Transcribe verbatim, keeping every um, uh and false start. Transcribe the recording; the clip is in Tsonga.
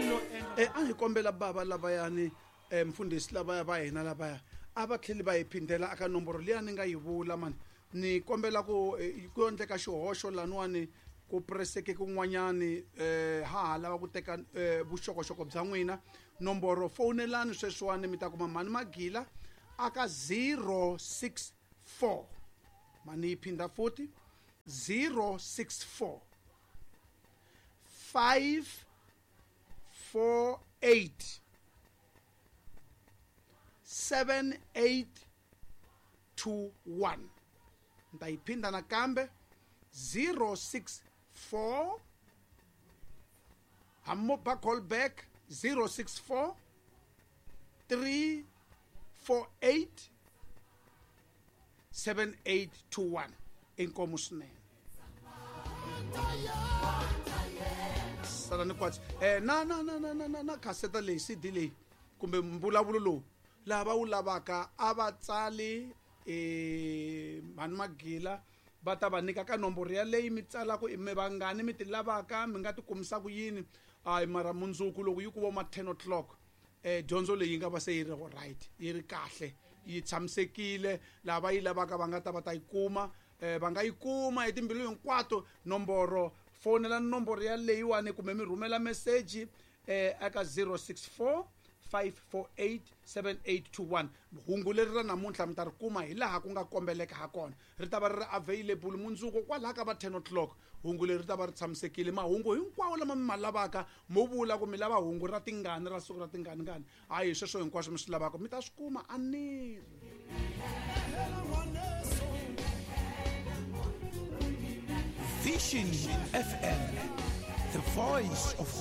ni lo endla Eh, a hi kombela bava lavayani eh, mfundhisi lavaya va hina lavaya a va tlheli va hi phindela aka nomboro liya ni nga yi vula mani ni kombela ku eh, ku endleka xihoxo laniwani ku preseke kun'wanyani eh, ha ha lava ku teka eh, vuxokoxoko bya n'wina nomboro fowunelani sweswiwani mi ta kuma mhani magila aka zero six four mani yi phinda futhi zero six four five four eight seven eight two one ni ta yi phinda nakambe zero six four hambi ba call back zero six four three four eight seven eight two one inkomu swinene sala ni kwatsi eh na na na na na na na khaseta leyi C D leyi kumbe mbulavulo lowu lava wu lavaka a va tsali eh mhani magila va ta va nyika ka nomboro yaleyi mi tsalaka i mi vangani mi ti lavaka mi nga ti kumisa ku yini hayi mara mundzuku loko yi ku vo ma ten o'clock eh dyondzo leyi yi nga va se yi ri right yi ri kahle yi tshamisekile lava yi lavaka va nga ta va ta yi kuma eh va nga yi kuma hi timbilu hinkwato nomboro fonela nomboro yaleyiwani kumbe mi rhumela meseji eh eka zero six four five four eight seven eight two one. Hungu leri ra namuntlha mi ta ri kuma hi laha ku nga kombeleka ha kona ri ta va ri ri available mundzuku kwalaha ka va ten o'clock hungu leri ri ta va ri tshamisekile mahungu hinkwawo lama mi ma lavaka mo vula ku mi lava hungu ra tingani ra siku ra tingani ngani hayi sweswo hinkwaswo mi swi lavaka mi ta swi kuma a ni ri Vision F M, the voice of hope.